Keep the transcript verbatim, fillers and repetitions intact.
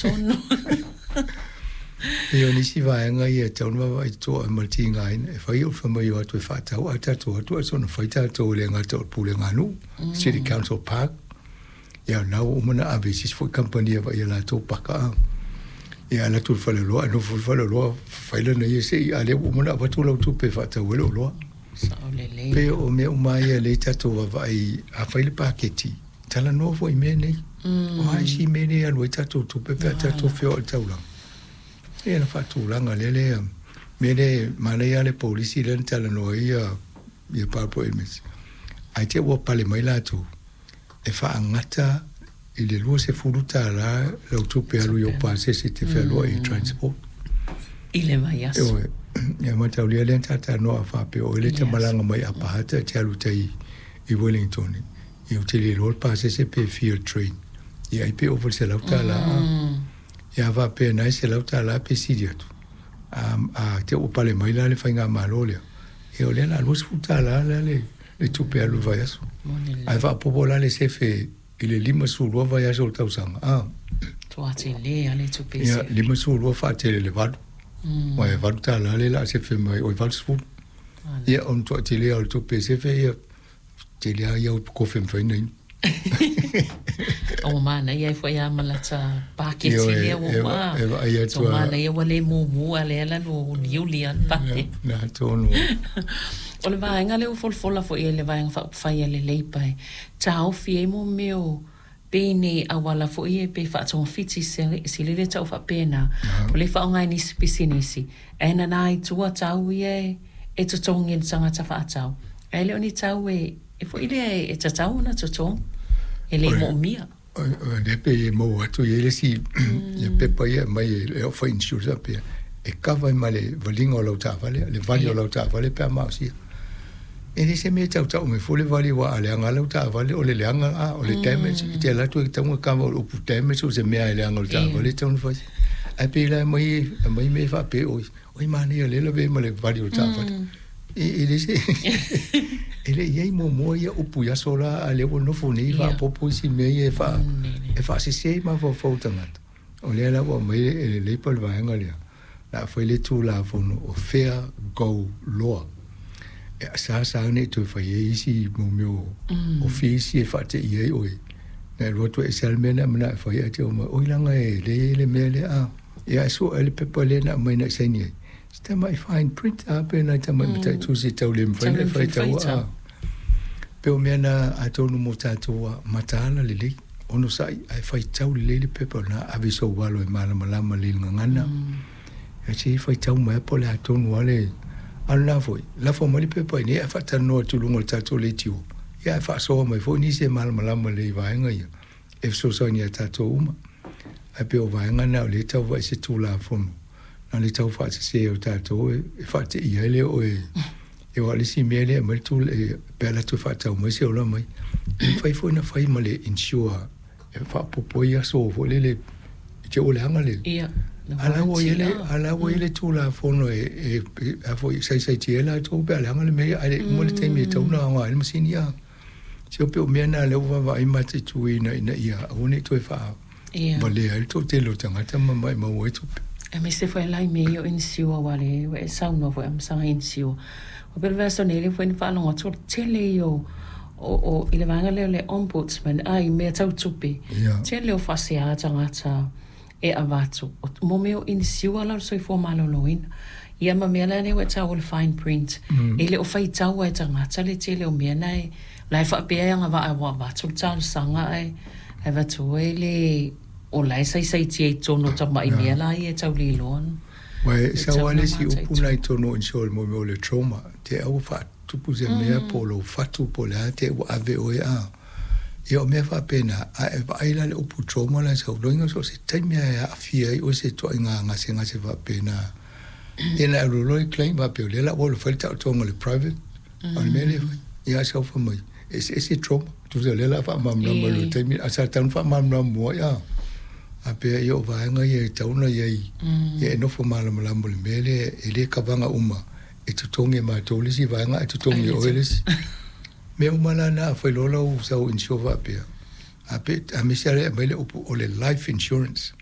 Tonu. Pei o nisi vaega ia e tatau ona vaavaai totoa ma le tigaina e fai o le fai mai o atu e faatau ae tatou o atu ae soona fai tatou e le gata o le pulega a nuu, City Council Park, ia o lena ua uma ona ave i se isi foi kamupani e vaaia latou paka a. Ia alu atu i le faleoloa ae nofo i le faleoloa fai lana ia se i a o lea ua uma ona avatu lau tupe e faatau ai le oloa. Sao lelei. Pei o mea uma ia lea tatou vaavaai a fai le paketi, talanoa foi i mea nei. O a isi mea nei e alu ai tatou tupe pe a tatou feoai i le taulaga. Ia na faatulaga lea lea mea lea manaia lava le polisi lea na talanoa ai ia ia Barbara Edmonds. Ae te i ua pale mai latou e faagata i le luasefulu tala lau tupe alu i ou pasese e te fealuai i transport. I le vaiaso. Ioe. Ia mataulia lea na talatalanoa a faapea o oe lea e te malaga mai Upper Hutt e te alu i tai i Wellington, ia ou te le iloa le pasese pe fia le train. Ia ai pe ova i le selau tala. Ia a faapea na e selau tala pe sili atu. A, a te i ua pale mai la le faigamalo lea, ia o lea o le a luasefulu tala la le, le tupe alu i le vaiaso. Ae faaopoopo la le sefe i le limasefulu lua vaiaso o le tausaga. A. Tua tele lava le tupe e sefe. Ia, limasefulu lua faatele i le valu. Aua e valu tala lea o le a sefe mai, oi valusefulu. Ia, o le matuai tele lava o le tupe e sefe, ia, tele lava ia upu kofi e mafai ona inu. Ua manaia ai foi lava ma lata paketi lea ua uma. E vaai atu lava. Manaia ua le mumu a lea la ua uliuli lava le paketi. Na tonu. O le vaega lea ua folafola foi e le Vaega Faaupufai a le Leipa e taofi ai mo mea o pei auala foi ia pe faatogafiti sili le tau faapena. O lea e faaaoga e nisi pisinisi ae nana i tua tau ia e totogi e le tagata faatau. Ae le o ni tau e e foi lea e tatau ona totogi, e le moomia. O lea pei e maua atu i ai le isi ia pepa ia e aumai e au fai insurance faapea, e kava ai ma le valiga o lau taavale, le vali o lau taavale pe a maosia. E le se mea e tautau mai fua le vali aua a leaga lava lau taavale o le leaga a, o le damage, e te alu atu e tatau ona kava o le upu damage o se mea e leaga o le taavale e tatau ona fai. Ae pei la e aumai, aumai mea faapea oi, oi manaia o lea e lavea ai ma le vali o le taavale. E le se e le i ai muamua ia upu i aso la, a o lea ua nofo nei faaopoopo isi mea ia e faa e faasese ai mafaufau o tagata. O lea la ua aumai e le Leipa le vaega lea, o le a fai le Tulafono o Fair Go Law, e sa sa nei toe fai ai isi mo mea o fees ia e faateia ai oe. Na e alu atu e ese lava le mea na e manao e fai ae te omai, oi leaga e leai le mea lea a. Ia ae sue le pepa lea na aumai na e saini ai. Se tamai fine print a pe nai tamai mataitu se tau le mafai ona e faitau a. Pei o mea na atonu mo tatou a mataala lelei, onosai ae faitau lelei le pepa na ave i sou alo e malamalama lelei i le gagana. Ia se i faitau mai po o le a tonu lava le a o lena foi, lafo mai le pepa i inei ae faatalanoa atu i luga o le tatou leitio, ia ae faasoa mai foi nisi e malamalama lelei i vaega ia e fesoasoani ia tatou uma. Ae pei o vaega na o lea e tau vaai se Tulafono na o le tau faasese o tatou e faateia ai lea oe e aua o le isi mea lea e aumai le tula pe a alu atu e faatau mai se ola mai, e mafai foi ona fai ma le insure e faaopoopo ai aso foi lele i te i ua leaga le a la ua i ai le a la ua i ai le Tulafono e e a foi e saisaitia ai latou pe a leaga le mea ae le i uma le taimi e tatau ona aoga ai le masini a. Se pei o mea na lea ua vaavaai ma mataituina ina ia aua ne i toe faa valea ai le toatele o tagata ma maumau ai tupe. Aemaise foi la i mea ia o insure aua o lea ua e saunoa foi Amasaga i insure. Ua pei o le vaiaso nei lea foi na faalogo atu o le tele ia o o o i le vaega lea o le Ombudsman a i mea tau tupe, tele o faasea tagata e avatu mo mea o insure la o le soifua maloloina. Ia ma mea la lea ua e taua o le fine print, e le o faitaua e tagata le tele o mea na e la e faapea e agavaa ua avatu le talosaga ae ae avatu ai le o la e saisaitia i totonu o tamai mea la ia e tau le iloa. Ua e sau lava le isi upu na i totonu o insure mo mea o le trauma, te i ua faatupu se mea po o lou fatu po o le a, te i ua ave oe a. Ia o mea faapena, a e vaai la i le upu trauma la e sau, loiga so o se taimi lava e aafia ai oe i se ituaiga gasegase faapena. Ia na e alu loa e claim faapea o lea la ua alu e fai le taotoga i le private, a o le mea lea e fai, ia ae sau fai mai, e eseese trauma. Tusa o lea o le a faamalamalama i le taimi, ae sa tatau ona faamalamalama muai a. A pea ia o vaega ia e tatau ona i ai, ia e nofo malamalama i le mea lea, e le kavaga uma e totogi e matou le isi vaega ae totogi e oe le isi. Mea uma la na, a fai loa lau sau insure faapea, a pe, aemaise lava le aumai le upu o le life insurance.